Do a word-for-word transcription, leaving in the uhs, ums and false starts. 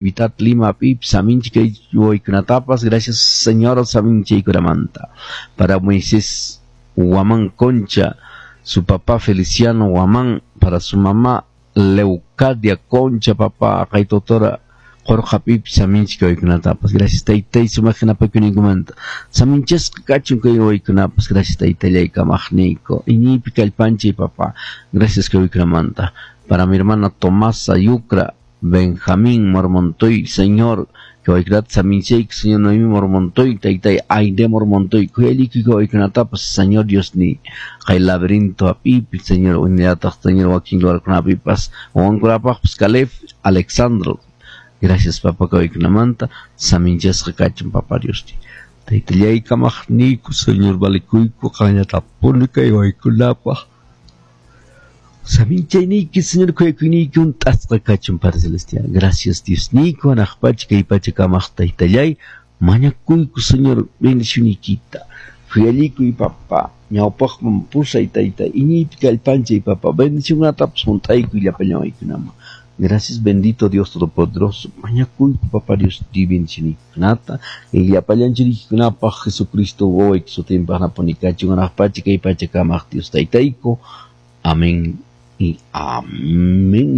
Vitat Lima Pip, Saminchi Waykunatapas, gracias Señor Saminchi Kuramanta. Para Moisés Guamán Concha, su papá Feliciano Guamán, para su mamá Leucadia Concha, papá Kaitotora Qorqa Pip, Saminchi Waykunatapas, gracias Taytay, sumaq yanapakuyninkumanta. Saminchasqa kachun kay waykunapas, gracias Taytallay kamaqniyku. Iñiypi kallpanchay papá, gracias kay waykunamanta. Para mi hermana Tomasa Yucra, Benjamín Mormontoy, Señor, que waykunata saminchayku, Señor Noemí Mormontoy, Taytay Aide Mormontoy, kuyalliki kay waykunatapas, Señor Dios ni, kay laberinto apipi, Señor, unillataq, Señor, wakin lugarkunapipas, wawankunapaqpas, Caleb, Alexandro, gracias papá kay waykunamanta, saminchasqa kachun papá Dios ni. Taytallay kamaqniyku, Señor, valikuyku, qanllatapuni kay waykunapaq. Saminchayniyki, Señor, kuyakuyniyki hunt'asqa kachun, Padre Celestial. Gracias, Dios niyku, hanaq pacha kay pacha kamaq Taytallay, mañakuyku, Señor, bendicionniykita. Khuyallikuy, papá, ñawpaqman pusay, Taytay, iñiypi kallpanchay, papá, bendicionkunatapas hunt'aykuy llapallan waykunaman. Gracias, bendito Dios Todopoderoso. Mañakuyku, papá Dios, di bendicionniykkunata. Llapallan churiykikunapaq, Jesucristo wawayki sutinpaq napuni kachun, hanaq pacha kay pacha kamaq Dios Taytayku. Amén y amén.